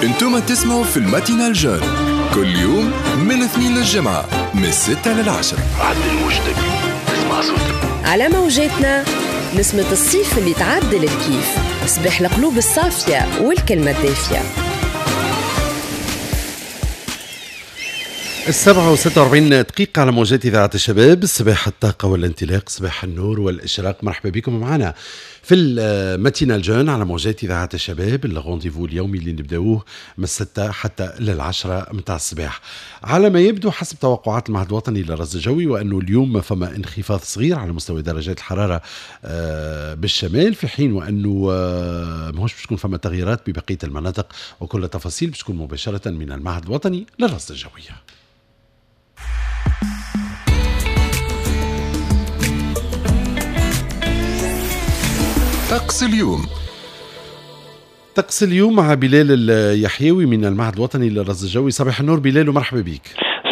انتم تسمعوا في ال matinale jeune كل يوم من الاثنين للجمعة من 6 للعشرة. عدل موجتك تسمع صوتك على موجاتنا، نسمة الصيف اللي تعدل الكيف، صباح القلوب الصافية والكلمة الدافية. 7:46 على موجات إذاعة الشباب، صباح الطاقة والانطلاق، صباح النور والإشراق. مرحبا بكم معنا في ال matinale jeune على موجات إذاعة الشباب، ال rendez-vous اليومي اللي نبداوه من 6 حتى لل10 متاع الصباح. على ما يبدو حسب توقعات المعهد الوطني للرصد الجوي وأنه اليوم فما انخفاض صغير على مستوى درجات الحرارة بالشمال، في حين وأنه ماهوش باش تكون فما تغييرات ببقية المناطق، وكل التفاصيل باش تكون مباشرة من المعهد الوطني للرصد الجوي. طقس اليوم. طقس اليوم مع بلال اليحيوي من المعهد الوطني للرصد الجوي. صباح النور بلال ومرحبا بك.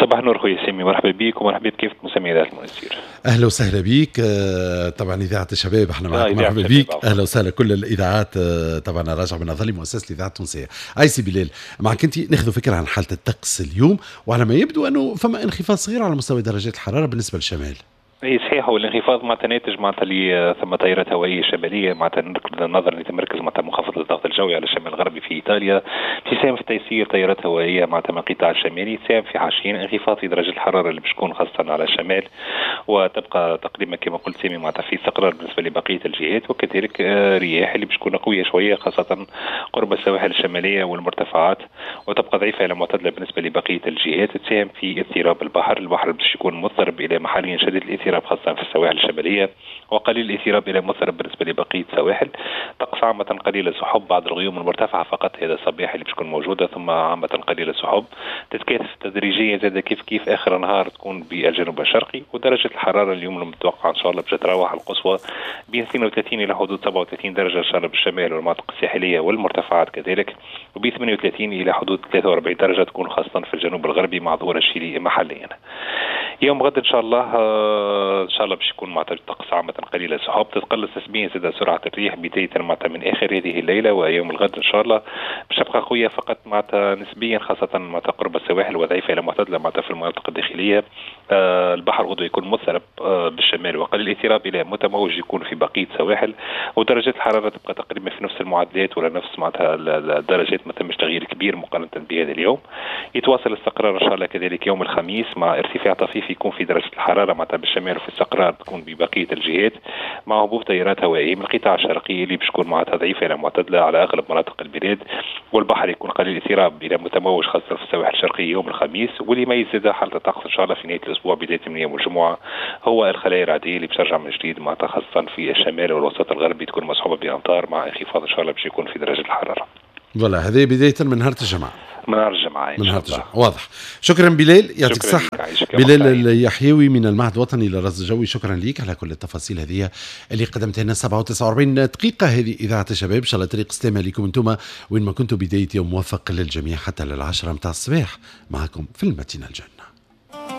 صباح النور خويا سامي، مرحبا بك ومرحبا بكافة مستمعي إذاعة المنستير. أهلا وسهلا بك. طبعا إذاعة الشباب احنا معك، مرحبا بك، أهلا وسهلا. كل الإذاعات طبعا راجع من نظري مؤسسة الإذاعة التونسية. أي سي بلال، معك أنت ناخذ فكرة عن حالة الطقس اليوم، وعلى ما يبدو أنه فما انخفاض صغير على مستوى درجات الحرارة بالنسبة للشمال. اي صحيح، هو الانخفاض معناتها ناتج معناتها اللي ثم تيارات هوائية شمالية، معناتها نظرا لتمركز معناتها منخفض الضغط الجوي على الشمال الغربي في ايطاليا، تساهم في تيسير تيارات هوائية معناتها من القطاع الشمالي، تساهم في حاشين انخفاض في درجه الحرارة اللي باش تكون خاصة على الشمال، وتبقى تقريبا كما قلت سامي معناتها في استقرار بالنسبة لبقية الجهات، وكذلك رياح اللي باش تكون قوية شوية خاصة قرب السواحل الشمالية والمرتفعات، وتبقى ضعيفة الى معتدلة بالنسبة لبقية الجهات، تساهم في اضطراب البحر، البحر باش يكون مضطرب الى محليا شديد الاضطراب خاصة في السواحل الشمالية، وقليل الاضطراب إلى مضطرب بالنسبة لبقية السواحل. طقس عامة قليل السحب، بعض الغيوم المرتفعة فقط هذا الصباح اللي باش تكون موجودة، ثم عامة قليل السحب تتكاثف تدريجيا زاد كيف كيف آخر النهار تكون بالجنوب الشرقي. ودرجة الحرارة اليوم المتوقعة إن شاء الله باش تتراوح القصوى بين 32 إلى حدود 37 درجة إن شاء الله بالشمال والمناطق الساحلية والمرتفعات كذلك، وب 38 إلى حدود 43 درجة تكون خاصة في الجنوب الغربي مع ظهور الشيلي محليا. يوم غد ان شاء الله ان شاء الله باش يكون معناتها الطقس عامة قليل السحب، تتقلص نسبيا زاد سرعة الريح بداية معناتها من اخر هذه الليلة ويوم الغد ان شاء الله باش تبقى قوية فقط معناتها نسبيا خاصة معناتها قرب السواحل وضعيفة الى معتدلة معناتها في المناطق الداخلية. البحر غدوة يكون مضطرب بالشمال وقليل الاضطراب الى متموج يكون في بقية السواحل، ودرجات الحرارة تبقى تقريبا في نفس المعدلات ولا نفس معناتها الدرجات، ما ثمش تغيير كبير مقارنة بهذا اليوم. يتواصل الاستقرار ان شاء الله كذلك يوم الخميس مع ارتفاع طفيف يكون في درجة الحرارة معناتها بالشمال وفي استقرار تكون ببقية الجهات، مع هبوب تيارات هوائية من القطاع الشرقي اللي باش تكون معناتها ضعيفة إلى معتدلة على أغلب مناطق البلاد، والبحر يكون قليل الاضطراب إلى متموج خاصة في السواحل الشرقية يوم الخميس. واللي ما يزيد حالة الطقس إن شاء الله في نهاية الأسبوع بداية من يوم الجمعة هو الخلايا الرعدية اللي بترجع من جديد معناتها خاصة في الشمال والوسط الغربي تكون مصحوبة بأمطار مع انخفاض إن شاء الله باش يكون في درجة الحرارة. voilà هذه بداية من نهار الجمعة. من نهار الجمعة. من نهار الجمعة، واضح. شكرا بلال، يعطيك الصحة. بلال اليحيوي من المعهد الوطني للرصد الجوي، شكرا لك على كل التفاصيل هذه اللي قدمتها لنا. 7:49 هذه إذاعة الشباب، إن شاء الله طريق سلامة لكم أنتم وين ما كنتوا، بداية يوم موفق للجميع حتى لل10 متاع الصباح معكم في ال matinale jeune.